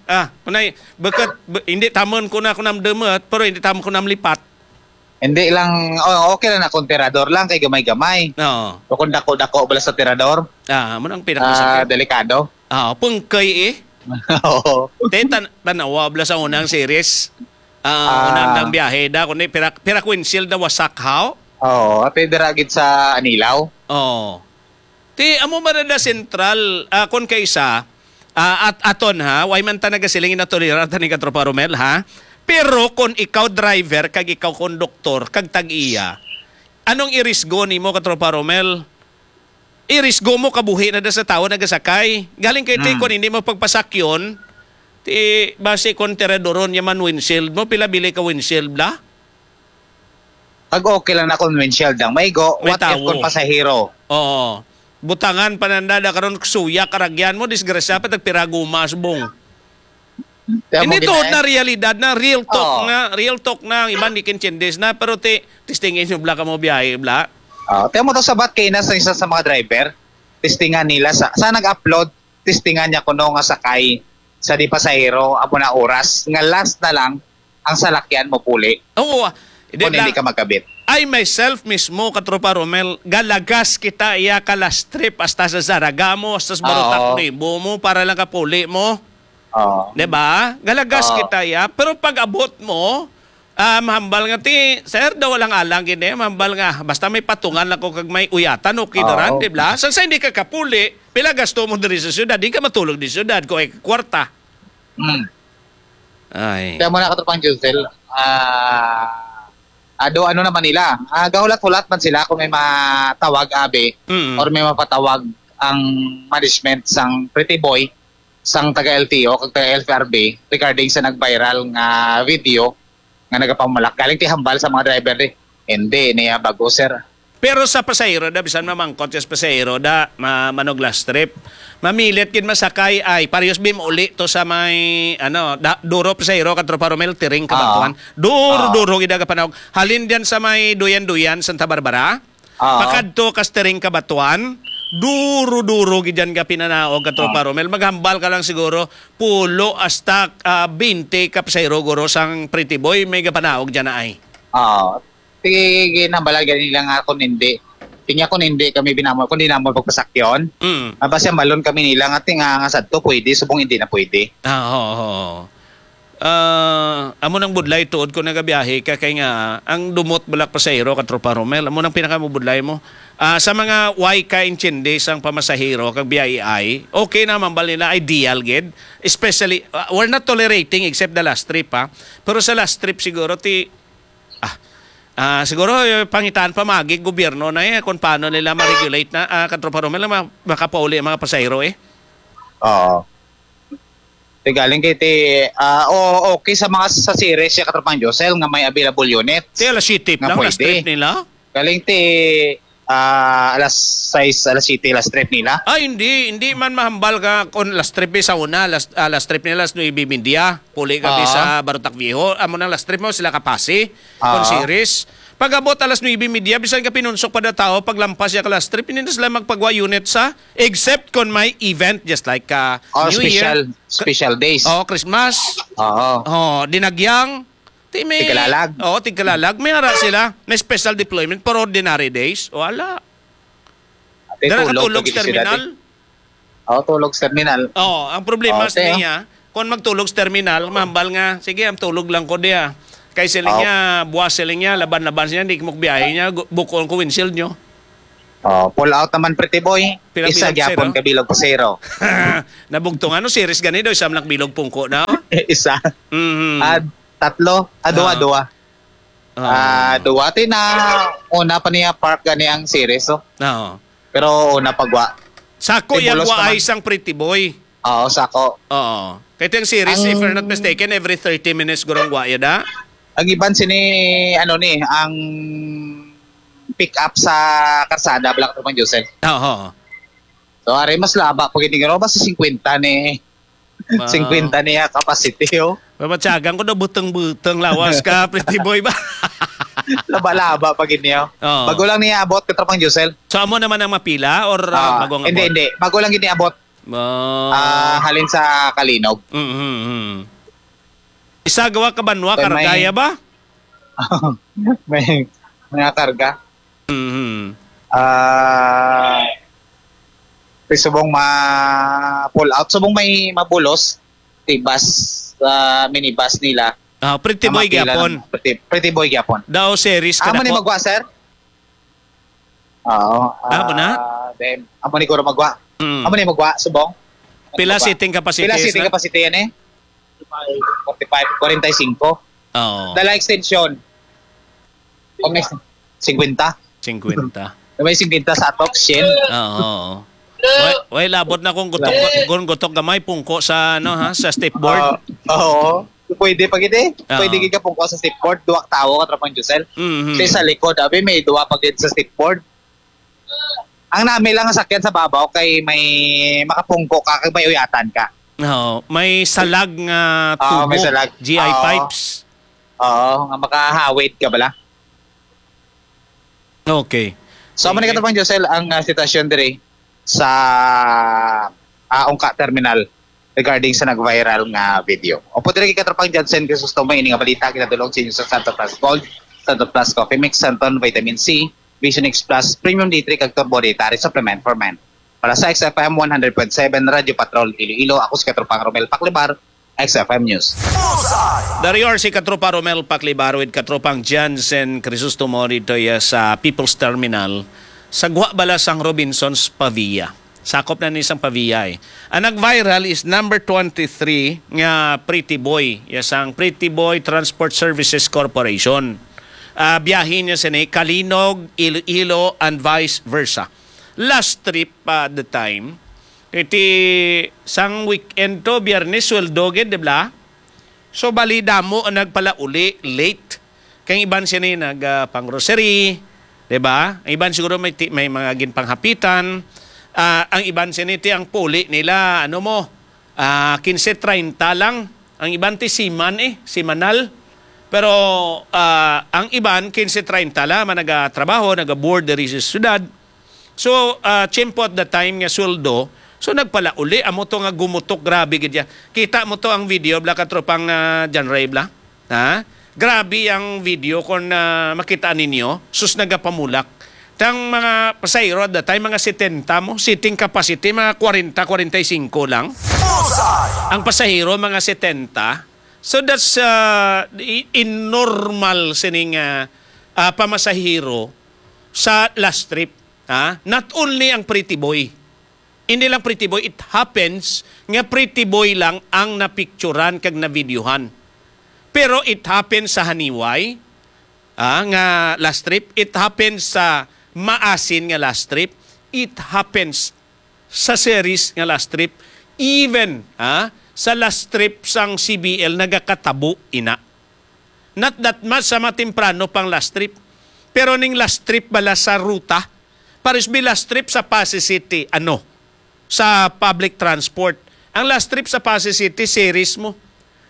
ah, kunay, bukod, bu-, hindi tamon ko na kunam dumot, pero hindi tamon ko nam lipat. Hindi lang, oh, okay lang na kung tirador lang, kay gamay-gamay. Oo. O kung dako-dako bala sa tirador, Ah, amo nang ah, pinakasakit. delikado. Ah, pungkay eh. Oo. Te, tan-, tanawa bala sa unang series. Ah, Ah. unang nang biyahe da, kundi pira, pira kwinsil da wasak, haw? Oo, ate, dira gid sa Anilao. Oo. Ti, amo ba na da sentral, ah, kon kaisa, Ah, at aton, ha, way man ta nagasiling na tolerar ta ni Katropa Romel, ha? Pero kung ikaw driver, kag ikaw konduktor, kag tag-iya, anong irisgo nimo, Katropa Romel? Irisgo mo kabuhi na da sa tawo nagasakay. Galing kay ti, Hmm. Kung hindi mo pagpasakyon, ti, basi kung tiraduron niya man windshield mo, pila bili ka windshield, bla? Pag okay lang na kung windshield ang maigo, May what if tawo. Kung pasahero? Oo. Butangan pa nanda da karon, suya karagyan mo, disgrasya pa, tagpira guma, subong. Kaya mo Hindi to gina- na realidad na, real talk Oo. Na, real talk na, ang iban di kintsindes na, pero ti, testingin yung bla ka mo biyahe, bla. Oh, tiyan mo to sabat kay na sa isa sa mga driver, testingan nila sa, sa nag-upload, testingan niya kuno nga sakay sa di pasahero, amo na oras, nga last na lang ang salakyan mo puli Oo, ah, hindi kung hindi lang. Ka magkabit. I myself mismo, Katropa Romel, galagas kita iya ka last trip hasta sa Zaragamo, hasta sa Barotac Oo. Nuevo mo, para lang kapuli mo. Oo. Di ba? Galagas Oo. Kita iya. Pero pag abot mo, ah, mahambal nga ti, sir, daw walang alang gini. Mahambal nga, basta may patungan ako kag may uyatan, okay na Oo. Ran, di ba? Sa, sa hindi ka kapuli, pila gasto mo diri sa syudad, di ka matulog di syudad, kung ay kwarta. Mm. Ay. Kaya mo na, Katropang Josel, ah, ado, ano naman nila, ah, gahulat-hulat man sila kung may matawag, abi, Mm. Or may mapatawag ang management sang Pretty Boy, sang taga L T O, kag taga L F R B, regarding sa nag-viral nga video nga nagapamalak. Galing ti hambal sa mga driver, di. Hindi niya bago, sir. Pero sa pasahero da, bisan mamangkot ka sa pasahero da, ma-, manog last trip. Mamilit gid masakay ay, parehas bim uli to sa may, ano, da, duro pasahero, Katropa Romel, tiring ka Oo. Batuan. Duro, Oo. Duro gid aga panahon. Halin diyan sa may Duyan-Duyan, Santa Barbara. Oo. Pakadto ka sa tiring ka Batuan. Duro, duro gid diyan ka pinanaog, Katropa Oo. Romel. Maghambal ka lang siguro, pulo hasta, ah, binte ka pasahero guro sang Pretty Boy, may gapanaog diyan na ay. Oo. Sige, ginambalan gani nila nga kung hindi. Tinya kung hindi kami binamo, kung di namo pagpasakyon. Mm. Ah, basta malon kami nila nga tinga nga sadto pwede, subong hindi na pwede. Ah, oo, oo. Ah, amo nang budlay tuod ko nagabiyahe ka kay nga ang dumot balak pasahero, Katropa Romel, amo nang pinakamabudlay mo. Ah, sa mga way ka intindi sang pamasahero kag B I I, okay na mambal nila, ideal gid. Especially, ah, we're not tolerating except the last trip, ha. Pero sa last trip siguro ti Ah, ah, siguro, eh, pangitaan pa magi gobyerno na, eh, kung paano nila ma-regulate na, ah, Katropa Romel, ma-, makapauli ang mga pasahero, eh. Oo. Ti galing kay ti, ah, o, okay sa mga sa series siya, Katropang Josel, nga may available units Ti alas siyete nga lang, last pwede. Trip nila. Galing ti, ah, alas sais, alas siyete, last trip nila. Ah, hindi, hindi man mahambal ka kung last trip, eh, sa una, last, ah, last trip nila, alas nuebe y media. Puli kami Oo. Sa Barotac Viejo. Amo nang last trip mo, sila kapasi. Oo. Kung series. Pag-abot alas nuebe y media, bisan ka pinunsok pa na tao, paglampas siya ka last trip, hindi na sila magpagwa unit sa, except kung may event, just like, ah, Or New special, Year. Special days. Oh, Christmas. Oo. Oh, dinagyang. Ti may, Tigkalalag. Oh, tigkalalag. May ara sila. May special deployment for ordinary days. Wala. Ate, Dara tulog katulog lagi sa sila, terminal. Ate. Oh, tulog sa terminal. Oh, ang problema Oh, sa te, niya, kung magtulog sa terminal, mahambal nga, sige, ang tulog lang ko diya. Kay siling Oh. Niya, buwas siling niya, laban-laban siya, hindi mo biyahe niya, gu-, bukon ko windshield nyo. Oh, pull out naman, Pretty Boy. Pila Isa bilog gyapon sero? Ka bilog pasero. Nabugtong ano, series gani daw, isa lang bilog pungko na. Isa. Mhm. Ah, tatlo. Ah, duwa, Ah. Duwa. Ah. Ah, duwa. Ti na, una pa niya park gani ang series, oh. Oo. Pero una pagwa. Sako Ti yan bulos wa naman. Ay isang Pretty Boy. Oo, sako. Oo. Kaya ito yung series, if Ang you're not mistaken, every thirty minutes gurong wa yun, ha? Ang iban sini, ano ni, ang pick up sa karsada, Black Truman Joseph. Oo. So, ari, mas laba pag hindi gano'n, basta singkwenta ni, Ma- singkwenta niya capacity, oh. Mamatyagan ko na butang-butang lawas ka, Pretty Boy ba? Laba-laba pag hindi, oh. Oo. Bago lang niya abot, Katropang Josel. So, amo naman ang mapila or, ah, Ah, bago ang hindi, abot? Hindi. Bago lang gini abot. Ah. Ah, halin sa Kalinog. Mm, mm, mm. Isa gawa ka banwa, Kay may kargaya ba? May mga karga. Mhm. Ah, ti subong ma-pull out. Subong may mabulos, ti bus, ah, minibus nila. Ah, Pretty Boy gyapon. Pretty, Pretty Boy gyapon. Daw series ka. Amo ni magwa, sir? Oo. Ah, amo na? Ah, then, amo ni guro magwa. Mm. Amo ni magwa, subong? Pila Ano ba? seating capacity, Pila seating sir? capacity yan eh? Forty-five, forty-five. Oo. Dala extension. O may fifty. Fifty. May fifty sa atok, Shin. Oo, oo. Way, way labot na kung gutok, kung gutok gamay, pungko sa, ano, ha, sa step board. Ah, oo. Pwede pa gid eh. Oo. Pwede gid ka pungko sa step board, duwa ka tawo ka, Tropang Josel. Mhm. Kay sa likod, abi, may duwa pa gid sa step board. Ang nami lang ang sakyan sa babaw kay may makapungko ka kag may uyatan ka. Oo, may salag nga Oo, may tubo, salag. G I Oo. pipes. Oo, nga makahawid ka bala. Okay. So, amo ni Sige. Katapang Josel ang, ah, sitwasyon diri sa, ah, Ungka Terminal regarding sa nag-viral nga video. Opo, diri kay Katropang Jansen Crisostomo, ini nga balita ginadulong sa inyo sa Santo Plus Gold, Santo Plus Coffee Mix, Santon Vitamin C, Vision X Plus, Premium D three, kag Turbo Dietary Supplement for Men. Para sa X F M one hundred point seven Radyo Patrol Iloilo, ako si Katropang Romel Paclibar, X F M News. Dari or si Katropa Romel Paclibar with Katropang Jansen Crisostomo dito ya sa People's Terminal sa Guha Bala sang Robinsons Pavia. Sakop na ni sang Pavia eh. Ang nag-viral is number twenty-three nga Pretty Boy. Ya sang Pretty Boy Transport Services Corporation. Ah, biyahe niya sini Calinog, Iloilo, and vice versa. Last trip pa the time, iti sang weekend to, Biyernes, sweldo gid, di ba? So, bali damo ang nagpalauli late. Kay ang iban sini nag, ah, pang-grocery, di ba? Ang iban siguro may ti-, may mga ginpanghapitan. Ah, ang iban sini ti ang puli nila, ano mo, ah, quince treinta lang. Ang iban ti siman eh, simanal. Pero, ah, ang iban quince treinta lang man nagatrabaho, nagaboard diri sa syudad. So, ah, tiyempo at the time nga sweldo, so nagpalauli, amo to nga gumutok, grabe gid ya. Kita mo to ang video, bla, Katropang, ah, John Ray, bla? Ha? Grabe ang video kung, ah, makita ninyo, sus, nagapamulak. Tang mga pasahero at the time, mga setenta mo, seating capacity, mga kwarenta, kwarenta y singko lang. Bullseye! Ang pasahero, mga setenta. So that's, ah, i-, in normal sining, ah, ah, pamasahero sa last trip. Ha? Not only ang Pretty Boy. Hindi lang Pretty Boy, it happens nga Pretty Boy lang ang napicturan kag navideohan. Pero it happens sa Haniway, ah, nga last trip. It happens sa Maasin nga last trip. It happens sa Ceres nga last trip. Even, ah, sa last trip sang C B L nagakatabo ina. Not that much sa matemprano pang last trip. Pero ning last trip bala sa ruta, pares bi last trip sa Passi City, ano, sa public transport. Ang last trip sa Passi City, Ceres mo,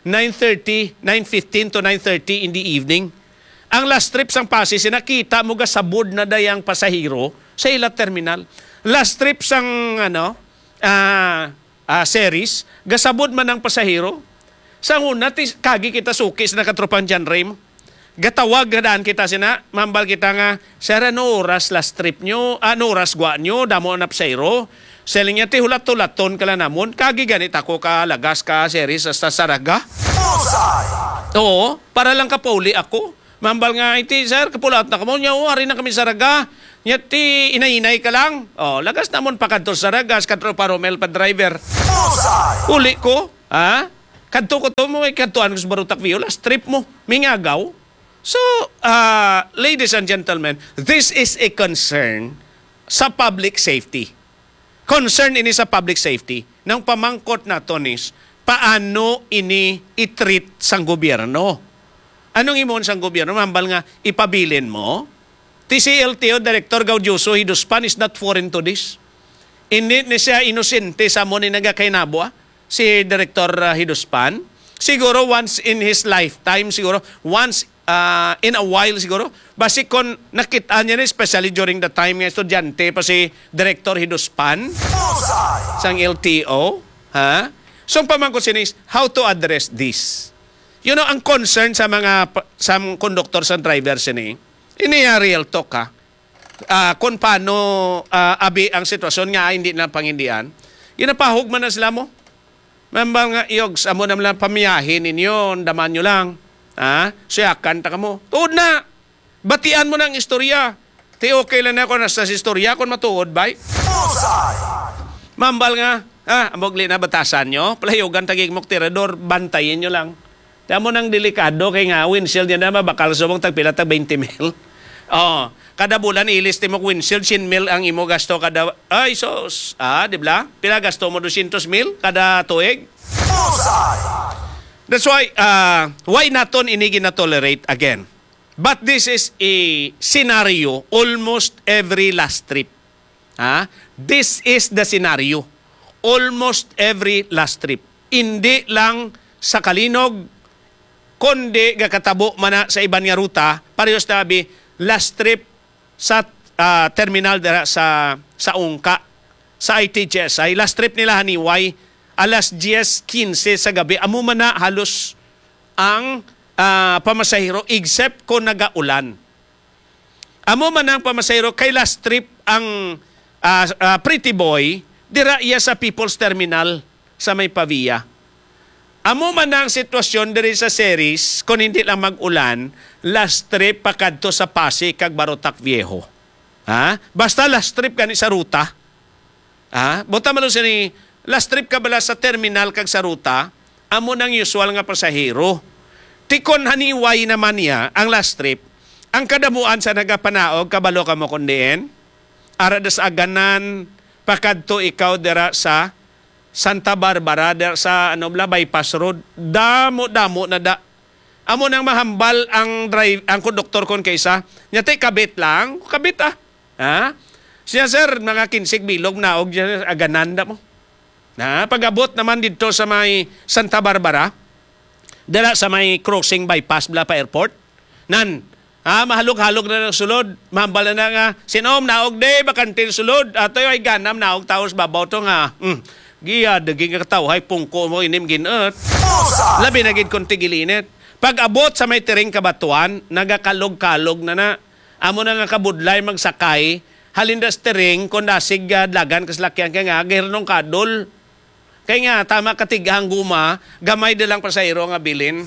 nine thirty, nine fifteen to nine thirty in the evening. Ang last trip sang Passi City, nakita mo gasabod na dayang pasahero sa ila terminal. Last trip sang, ano, ah, ah, Ceres, gasabod man ang pasahero. Sa una, ti-, kagi kita suki sa nakatropang John Ray mo. Gatawag na daan kita sina, mambal kita nga, "Sir, ano oras last trip nyo? Ano oras gwa nyo? Damo na pasahero." Siling niya, "Ti hulat-hulaton ka lang namon. Kagi ganit ako ka lagas ka Ceres hasta Zarraga." Bullseye! Oo, para lang kapauli ako. Mambal nga, "Iti, sir, kapulat na kamo." Nya, "O, ari na kami Zarraga." Nya, "Ti, inay-inay ka lang." O, lagas namon pa kadto sa Zarraga, sa kadto pa Romel pa driver. Bullseye! Uli ko, ha? Kadto ko to mo, eh, kadtuan ko sa Barutak View, last trip mo, mingagaw. So, ah, ladies and gentlemen, this is a concern sa public safety. Concern ini sa public safety. Nang pamangkot naton is, paano ini i-treat sang gobyerno? Anong imon sang gobyerno? Mambal nga ipabilin mo? Ti si L T O Director Gaudioso Hiduspan is not foreign to this. Hindi ni siya inosente sa mo ni nagakainabo, ah, si Director, ah, Hiduspan. Siguro once in his lifetime, siguro once, ah, in a while siguro. Basi kon nakita niya ni, especially during the time nga estudyante pa si Director Hiduspan Bullseye! Sang L T O, ha? So, ang pamangkot sini is, how to address this? You know, ang concern sa mga pa-, sa conductor, sa driver sini, ini, ah, real talk, ha? Ah, kung paano, ah, abi ang sitwasyon nga, ah, hindi na pangindian, ginapahog man na sila mo. Mambal nga, "Iyogs, amo na lang pamiyahe ninyo, andaman nyo lang." Ha? Suyakan ta kamo. Tuod na! Batian mo na ang istorya. Ti okay lang na kung nasa sa istorya, kung matuod, bay. Bullseye! Mambal nga, ah, amog li na batasan nyo, palayogan tagig mok tirador, bantayin nyo lang. Kaya mo nang delikado kay nga windshield niya na mabakal subong tagpila tag twenty mil. Oh, kada bulan ilis ti mok windshield, cien mil ang imo gasto kada, ay sos, ah, di ba? Pila gasto mo, dosyentos mil kada tuig? Bullseye! That's why, uh, why naton ini ginatolerate again? But this is a scenario almost every last trip. Ha? This is the scenario. Almost every last trip. Hindi lang sa Kalinog, kundi gakatabo man na sa iban nga ruta, parehas na abi, last trip sa, ah, terminal dira sa, sa Ungka, sa I T G S I. Last trip nila haniway, alas diyes quince sa gabi. Amo man na halos ang, ah, pamasahero, except kung nagaulan. Amo man ang pamasahero kay last trip ang, ah, ah, Pretty Boy dira iya sa People's Terminal sa may Pavia. Amo man ang sitwasyon diri sa Ceres, kung hindi lang mag-ulan, last trip pakadto sa Pasig kag Barotac Viejo. Ha? Basta last trip gani sa ruta. Ha? Buta man lang sini, last trip ka bala sa terminal kag sa ruta, amo nang usual nga pasahero. Tikon haniway naman niya ang last trip. Ang kadamuan sa nagapanaog, kabalo ka mo kung diin? Ara das Aganan, pakadto ikaw dira sa Santa Barbara, dira sa, ano bala, Bypass Road. Damo-damo na da. Amo nang mahambal ang drive, ang konduktor kon kaysa, nya ti kabit lang, kabit ah. Ha? Siya, sir, mga kinsig bilog naog dyan, agananda mo. Na, pag-abot naman dito sa may Santa Barbara, dala sa may crossing bypass bala pa airport. Nan, ah, mahalog-halog na ng sulod. Mahambal na nga, "Sinom, naog di, bakantin sulod." Atoy ay ganam, naog taos babaw to nga. Hmm. Giya, daging ka tawhay, pungko mo, inim ginot. Labi na gid kung tigilinit. Pag-abot sa may tiring kabatuan, nagakalog-kalog na na. Amo na nga kabudlay magsakay, halin da sa tiring, kung dasig, ah, dalagan ka salakyan, kay nga, gahirnong kadol. Kay nga, tama katiga ang guma, gamay da lang pasahero nga bilin.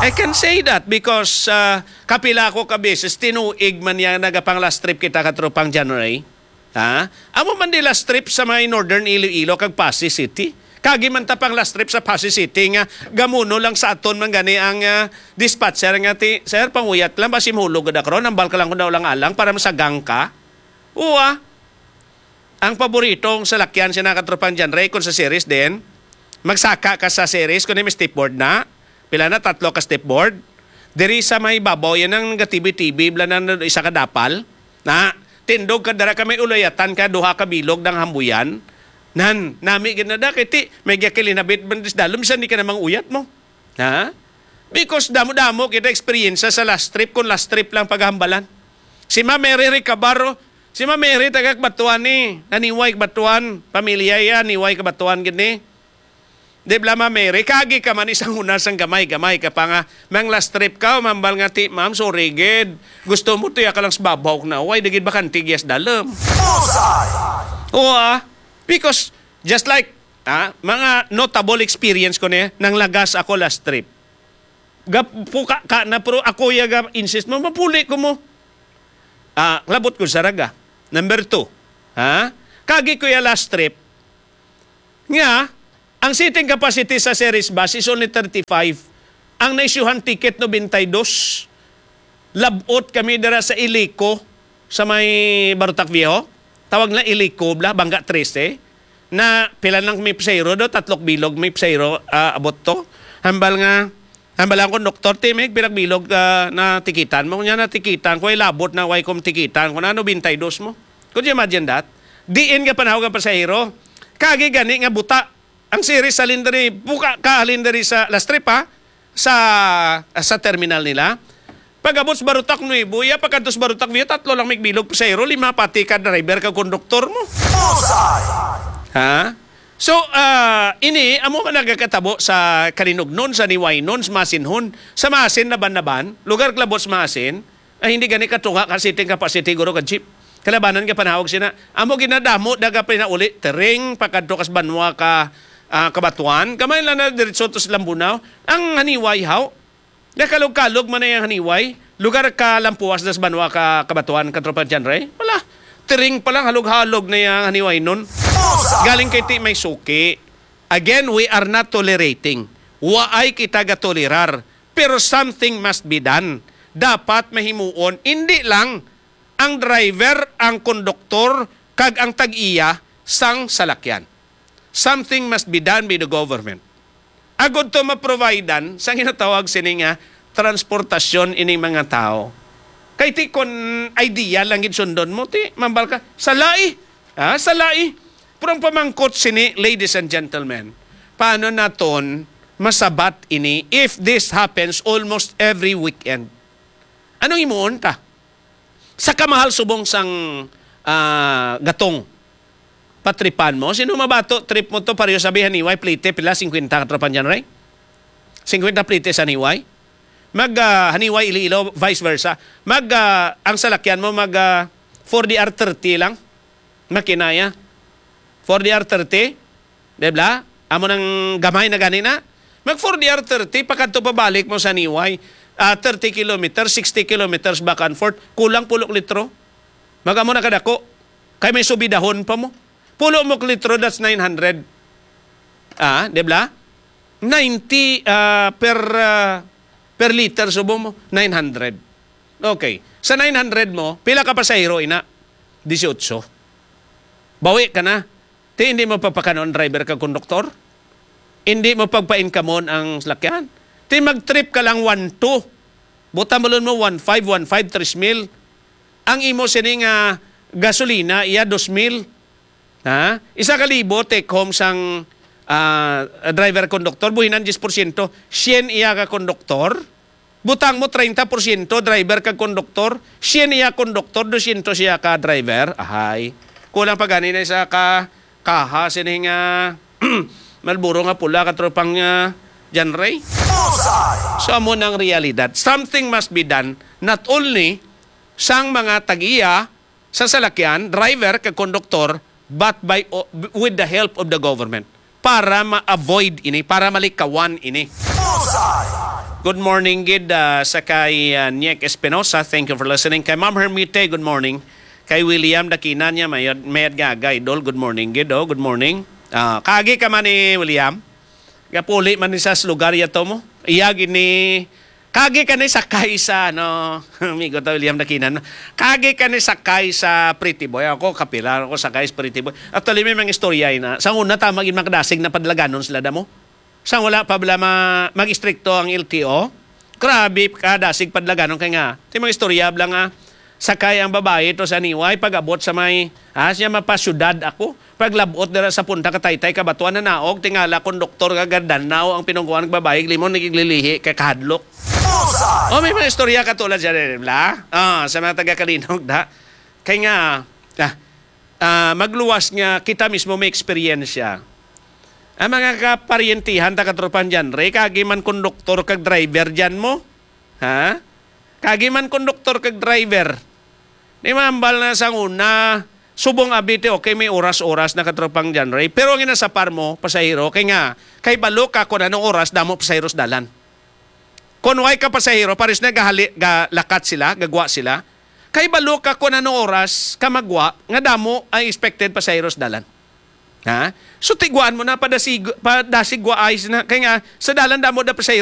I can say that because, ah, kapila ako ka beses, tinuig man niya nagapang last trip kita katropang John Ray. Ha? Amo man di last trip sa may Northern Iloilo kag Passi City. Kagi man ta pang last trip sa Passi City nga gamuno lang sa aton man gani ang, ah, dispatcher nga ti, "Sir, panguyat lang, basi mahulog gid ako ron, hambal ka lang kung naulang-alang para masagang ka." Uwa. Ang paboritong salakyan sa nakatropang John Ray kung sa Ceres din, magsaka ka sa Ceres kung may stepboard na, pila na, tatlo ka stepboard. Diri sa may babaw, yan ang nagatibi-tibi, bala na isa ka dapal. Na, tindog ka dara ka may ulayatan ka, duha ka bilog ng hambuyan. Nan, nami gid na da, kay ti, may gakilinabit man dis dalom, bisan di ka na mang uyat mo. Ha? Because damo-damo kita eksperyensya sa last trip, kung last trip lang paghambalan. Si Ma'am Mary Recabaro, si Ma'am Mary taga Kabatuan ni, naniway Kabatuan, pamilya iya, niway Kabatuan gid ni. Di bala, Ma'am Mary, kagi ka man isang una sang gamay-gamay ka pa nga, mang last trip ka, mambal nga ti, "Ma'am, sorry gid. Gusto mo tuya ka lang sa babaw na, way, di gid bakante giyas dalom." Bullseye! Oo, ah. Because, just like, ah, mga notable experience ko ni, nang lagas ako last trip. Gapuka ka na, pero ako ya ga insist mo, mapuli ko mo. Ah, labot ko sa raga. Number two, ha? Kagi ko ya last trip, nga, ang seating capacity sa Ceres bus is only thirty-five. Ang naisyuhan ticket, nobenta y dos. Labot kami dira sa Ilico, sa may Barotac Viejo. Tawag na Ilico, bla, Bangga trese. Na, pila lang may pasahero do, tatlok bilog may pasahero, ah, abot to. Hambal nga, hambal ang konduktor, "Ti, may pila bilog, ah, na tikitan mo?" Nya na tikitan ko, ay labot na, way kong tikitan. Kung ano, bintay dos mo. Could you imagine that? Diin nga panahon nga pasahero. Kagi gani nga buta. Ang Ceres halin diri, buka ka halin diri sa last trip, ha? Sa, sa terminal nila. Pag-abot sa Barotac Nuevo, iya pagkadto sa Barotac Viejo, tatlo lang may bilog pasahero, lima pati ka driver, ka konduktor mo. Bullseye! Ha? So, ah, ini, amo man nagakatabo sa Kalinugnon, sa Niwaynon, sa Masinhon, sa Masin, Naban-Naban, lugar klabot sa Masin, ay hindi gani katunga ka seating capacity, guro, ka jeep. Kalabanan ka panawag sina. Amo ginadamo, daga pinauli, tering, pakadto kas banwa ka, ah, Kabatuan, kamay lang na diretso to sa Lambunao. Ang haniway, haw? Nakalog-kalog man na yung haniway. Lugar ka lampuas das banwa ka Kabatuan, Katropang John Ray? Wala. Tiring pa lang, halog-halog na yung haniway nun. Bullseye! Galing kay ti may suki. Again, we are not tolerating. Waay kita gatolerar. Pero something must be done. Dapat mahimuon, hindi lang ang driver, ang konduktor, kag ang tag-iya sang salakyan. Something must be done by the government. Agod to maprovidean sa ginatawag sini nga transportasyon ining mga tao. Kay ti kon idea lang gid sundon mo, ti mambal ka, salai. Ha? Salai. Pero ang pamangkot sini, ladies and gentlemen, paano naton masabat ini if this happens almost every weekend? Anong himuon ta? Sa kamahal subong sang, ah, gatong, patripan mo? Sino mabato, trip mo to, pareho sabi, Haniway, Plite, pila? Singkwenta ka tropa niyan, Ray? Singkwenta Plite sa Haniway? Mag, ah, Haniway, Iloilo, vice versa. Mag, ah, ang salakyan mo, mag, ah, four D R thirty lang. Makinaya. Four D R thirty. Di ba? Amo nang gamay na gani na. Mag four D R thirty, pakadto pabalik mo sa Haniway. Ah, thirty kilometers, sixty kilometers back and forth. Kulang pulo ka litro. Mag-amo na kadako. Kay may subidahon pa mo. Pulo mo ka litro, that's nine hundred. Ah, di ba? Ninety, ah, per, ah, per liter subo mo, nine hundred. Okay. Sa nine hundred mo, pila ka pasahero ina? Dieciocho. Bawi ka na. Ti, hindi mo papakanon driver kag konduktor? Hindi mo pagpa-income ang salakyan? Ti, mag-trip ka lang one two. Buta mo mo one five, one five, tres mil. Ang imo sini nga gasolina, iya dos mil. Ha? Isa ka libo take home sang, ah, driver konduktor, buhinan diyes porsyento. Syen iya ka konduktor. Butang mo treinta porsyento driver kag konduktor, syen iya konduktor, dosyentos iya ka driver. Ahay. Kulang pa gani na isa ka kaha sini nga Malboro nga pula, katropang, ah, John Ray. Bullseye! So, amo nang realidad. Something must be done, not only sang mga tag-iya sa salakyan, driver kag konduktor, but by o-, with the help of the government para ma-avoid ini, para malikawan ini. Bullseye! Good morning gid, ah, sa kay, ah, Nick Espinosa. Thank you for listening. Kay Ma'am Hermite, good morning. Kay William Dakina niya, mayad, mayad nga aga, idol. Good morning gid, oh. Good morning. Ah, kagi ka man ni William. Gapuli man ni sa lugar yato mo. Iya gini, kagi ka ni sakay sa, ano, amigo ta, William Dakinan. Kagi ka ni sakay sa Pretty Boy. Ako, kapila ako sakay sa Pretty Boy. Actually, may mga istorya na. Sa una, tama gid makadasig na padlaganon sila damo. Sa wala pa bala ma-, mag-istrikto ang L T O, grabe ka dasig padlaganon kay nga. Ti mga istorya bala nga, sakay ang babayi to sa Haniway, pag-abot sa may, ah, siya mapasyudad ako. Paglabot dira sa punta ka Taytay, Kabatuan, nanaog, tingala konduktor nga gadanaw ang pinungkuan nga babayi, limon nagiglilihi kay kahadlok. Bullseye! Oh, may mga istorya katulad siya rin, bla? Ah, sa mga taga Kalinog, da. Kay nga, ah, ah, magluwas nga kita mismo may eksperyensya. Ang mga kaparyentihan ta katropang John Ray, kagi man konduktor kag driver dyan mo. Ha? Kagi man konduktor kag driver. Di mambal na sang una, subong abite, okay, may oras-oras na katropang John Ray. Pero ang inasapar mo, pasahero, kay nga, kay balo ka kung anong oras, damo pasahero sa dalan. Kung way ka pasahero, pares na gahali, galakat sila, gagwa sila. Kay balo ka kung anong oras ka magwa, nga damo ang expected pasahero sa dalan. Ha? So, tigwaan mo na, padasig-, padasigwaay na. Kay nga, sa dalan damo da pasahero,